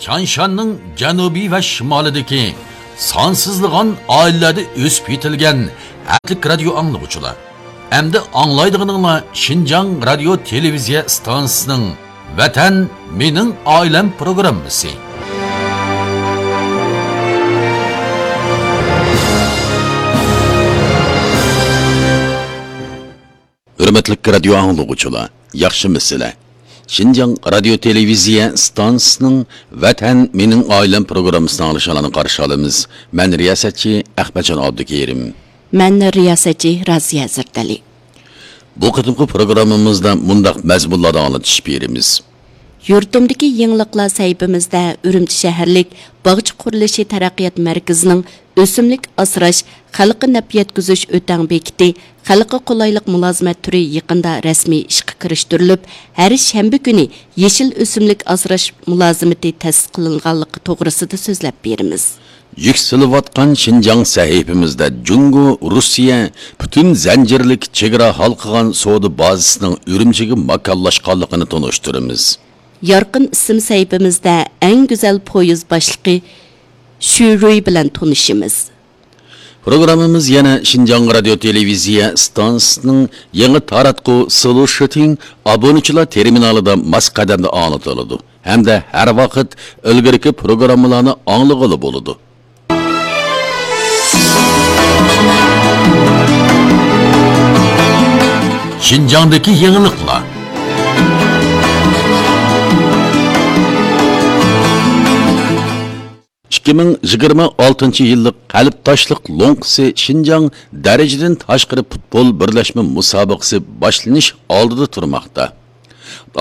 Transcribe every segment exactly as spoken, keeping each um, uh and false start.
تيانشاننىڭ جەنۇبى ۋە شىمالىدىكى سانسىزلىغان ئائىلىلەردە ئۆسۈپ يېتىلگەن ھەرىكەتلىك رادىيو ئاڭلىغۇچىلار. ئەمدى ئاڭلايدىغىنىڭلار شىنجاڭ رادىيو تېلېۋىزىيە ئىستانسىسىنىڭ ۋەتەن مېنىڭ ئائىلەم پروگراممىسى. ھۆرمەتلىك رادىيو ئاڭلىغۇچىلار، ياخشىمۇسىلەر؟ شىنجاڭ رادىيو تېلېۋىزىيە ئىستانسىسىنىڭ ۋەتەن مېنىڭ ئائىلەم پروگراممىسىنى ئاڭلىشىڭلارنى قارشى ئالىمىز. مەن رىياسەتچى ئەخمەتجان ئابدۇكېرىم. مەن رىياسەتچى رازىيە ھەزرىتئەلى. بۇ قېتىمقى پروگراممىمىزدا مۇنداق مەزمۇنلاردا ئاڭلىتىش بېرىمىز. يۇرتۇمدىكى يېڭىلىقلار سەھىپىمىزدە ئۈرۈمچى شەھەرلىك باغچە قۇرۇلۇشى تەرەققىيات مەركىزىنىڭ ئۆسۈملۈك ئاسراش، خەلققە نەپ يەتكۈزۈش ئۆتەڭ بېكىتى، خەلققە قولايلىق مۇلازىمەت تۈرى يېقىندا رەسمىي ئىشقا كىرىشتۈرۈلۈپ، ھەر شەنبە كۈنى يېشىل ئۆسۈملۈك ئاسراش مۇلازىمىتى تەسىس قىلىنغانلىقى توغرىسىدا سۆزلەپ بېرىمىز. يۈكسىلىۋاتقان شىنجاڭ سەھىپىمىزدە جۇڭگو، روسىيە پۈتۈن زەنجىرلىك چېگرا ھالقىغان سودا بازىسىنىڭ ئۈرۈمچىگە ماكانلاشقانلىقىنى تونۇشتۇرىمىز. يارقىن ئىسىم سەھىپىمىزدە ئەڭ گۈزەل پويىز باشلىقى شۈ رۇي بىلەن تونۇشىمىز. پروگراممىمىز يەنە شىنجاڭ رادىيو تېلېۋىزىيە ئىستانسىسىنىڭ يېڭى تاراتقۇ سلۇشىتىڭ ئابۇنىچىلار تېرمىنالىدا ماس قەدەمدە ئاڭلىتىلىدۇ ھەمدە ھەر ۋاقىت ئىلگىرىكى پروگراممىلارنى ئاڭلىغىلى بولىدۇ. شىنجاڭدىكى يېڭىلىقلار. ئىككى مىڭ يىگىرمە ئالتىنچى يىللىق قەلبتاشلىق لوڭقىسى شىنجاڭ دەرىجىدىن تاشقىرى پۇتبول بىرلەشمە مۇسابىقىسى باشلىنىش ئالدىدا تۇرماقتا.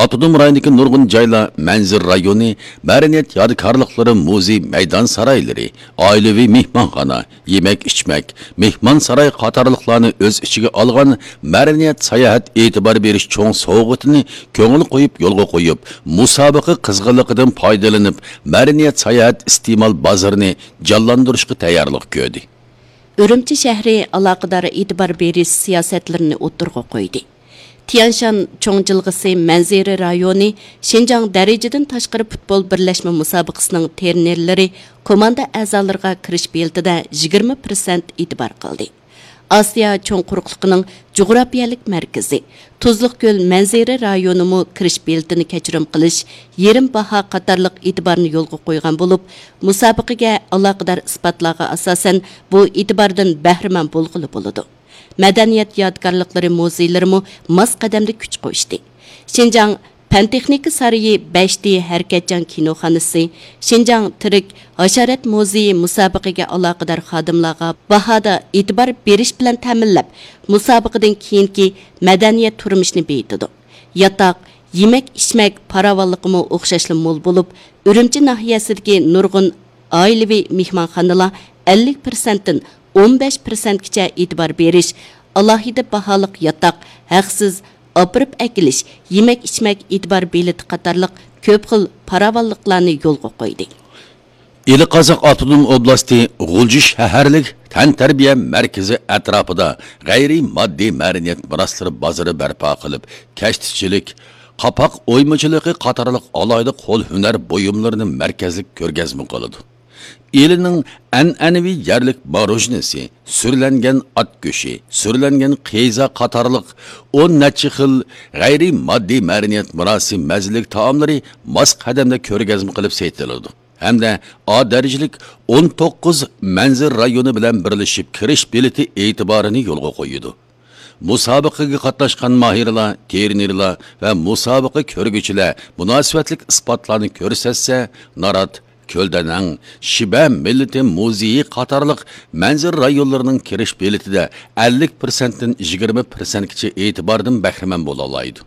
ئاپتونوم رايوندىكى نۇرغۇن جايلار، مەنزىرە رايونى، مەدەنىيەت يادىكارلىقلىرى مۇزېي مەيدان سارايلىرى، ئائىلىۋى مېھمانخانا، يېمەك-ئىچمەك، مېھمانساراي قاتارلىقلارنى ئۆز ئىچىگە ئالغان مەدەنىيەت ساياھەت ئېتىبار بېرىش چوڭ سوۋغىتىنى كۆڭۈل قويۇپ يولغا قويۇپ، مۇسابىقە قىزغىنلىقىدىن پايدىلىنىپ، مەدەنىيەت ساياھەت ئىستېمال بازىرىنى جانلاندۇرۇشقا تەييارلىق كۆردى. ئۈرۈمچى شەھىرى ئالاقىدار ئېتىبار بېرىش سىياسەتلىرىنى ئوتتۇرىغا قويدى. تيانشان چوڭ جىلغىسى مەنزىرە رايونى شىنجاڭ دەرىجىدىن تاشقىرى پۇتبول بىرلەشمە مۇسابىقىسىنىڭ ترېنېرلىرى كوماندا ئەزالىرىغا كىرىش بېلىتىدە يىگىرمە پىرسەنت ئېتىبار قىلدى. ئاسىيا چوڭ قۇرۇقلۇقىنىڭ جۇغراپىيەلىك مەركىزى، تۇزلۇق كۆل مەنزىرە رايونىمۇ كىرىش بېلىتىنى كەچۈرۈم قىلىش، يېرىم باھا قاتارلىق ئېتىبارنى يولغا قويغان بولۇپ، مۇسابىقىگە ئالاقىدار ئىسپاتلارغا ئاساسەن، بۇ ئېتىباردىن بەھرىمەن بولغىلى بولىدۇ. مەدەنىيەت يادىكارلىقلىرى مۇزېيلىرىمۇ ماس قەدەمدە كۈچ قوشتى. شىنجاڭ پەن تېخنىكا سارىيى، بەش دى ھەرىكەتچان كىنوخانىسى، شىنجاڭ تىرىك ھاشارات مۇزېيى مۇسابىقىگە ئالاقىدار خادىملارغا باھادا ئېتىبار بېرىش بىلەن تەمىنلەپ، مۇسابىقىدىن كېيىنكى مەدەنىيەت تۇرمۇشىنى بېيىتىدۇ. ياتاق، يېمەك-ئىچمەك پاراۋانلىقىمۇ ئوخشاشلا مول بولۇپ، ئۈرۈمچى ناھىيەسىدىكى نۇرغۇن ئائىلىۋى مېھمانخانىلار ئەللىك پىرسەنتتىن ئون بەش پىرسەنتكىچە ئېتىبار بېرىش، ئالاھىدە باھالىق ياتاق، ھەقسىز ئاپىرىپ ئەكېلىش، يېمەك-ئىچمەك ئېتىبار بېلىتى قاتارلىق كۆپ خىل پاراۋانلىقلارنى يولغا قويدى. ئىلى قازاق ئاپتونوم ئوبلاستى غۇلجا شەھەرلىك تەنتەربىيە مەركىزى ئەتراپىدا غەيرىي ماددىي مەدەنىيەت مىراسلىرى بازىرى بەرپا قىلىپ، كەشتىچىلىك، قاپاق ئويمىچىلىقى قاتارلىق ئالاھىدە قول ھۈنەر بۇيۇملىرىنى مەركەزلىك كۆرگەزمە قىلىدۇ. ئىلىنىڭ ئەنئەنىۋى يەرلىك ماروژنىسى، سۈرلەنگەن ئات گۆشى، سۈرلەنگەن قىزا قاتارلىق ئون نەچچە خىل غەيرىي ماددىي مەدەنىيەت مىراسى مەززىلىك تائاملىرى ماس قەدەمدە كۆرگەزمە قىلىپ سېتىلىدۇ ھەمدە ئا دەرىجىلىك ئون توققۇز مەنزىرە رايونى بىلەن بىرلىشىپ كىرىش بېلىتى ئېتىبارىنى يولغا قويىدۇ. مۇسابىقىگە قاتناشقان ماھىرلار، ترېنېرلار ۋە مۇسابىقە كۆرگۈچىلەر مۇناسىۋەتلىك ئىسپاتلارنى كۆرسەتسە، نارات، كۆلدەنەڭ، شىبە مىللىتى مۇزېيى قاتارلىق مەنزىرە رايونلىرىنىڭ كىرىش بېلىتىدە ئەللىك پىرسەنتتىن يىگىرمە پىرسەنتكىچە ئېتىباردىن بەھرىمەن بولالايدۇ.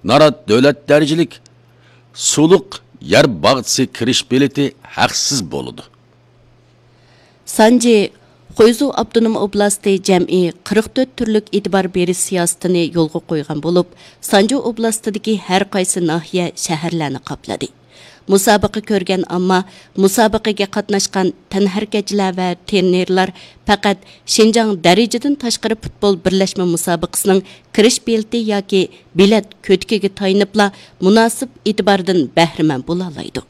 نارات دۆلەت دەرىجىلىك سۇلۇق يەر باغچىسى كىرىش بېلىتى ھەقسىز بولىدۇ. سانجى، خۇيزۇ ئاپتونوم ئوبلاستى جەمئىي قىرىق تۆت تۈرلۈك ئېتىبار بېرىش سىياسىتىنى يولغا قويغان بولۇپ، سانجى ئوبلاستىدىكى ھەر قايسى ناھىيە، شەھەرلەرنى قاپلىدى. مۇسابىقە كۆرگەن ئامما، مۇسابىقىگە قاتناشقان تەنھەرىكەتچىلەر ۋە ترېنېرلار پەقەت شىنجاڭ دەرىجىدىن تاشقىرى پۇتبول بىرلەشمە مۇسابىقىسىنىڭ كىرىش بېلىتى ياكى بېلەت كۆتىكىگە تايىنىپلا مۇناسىپ ئېتىباردىن بەھرىمەن بولالايدۇ.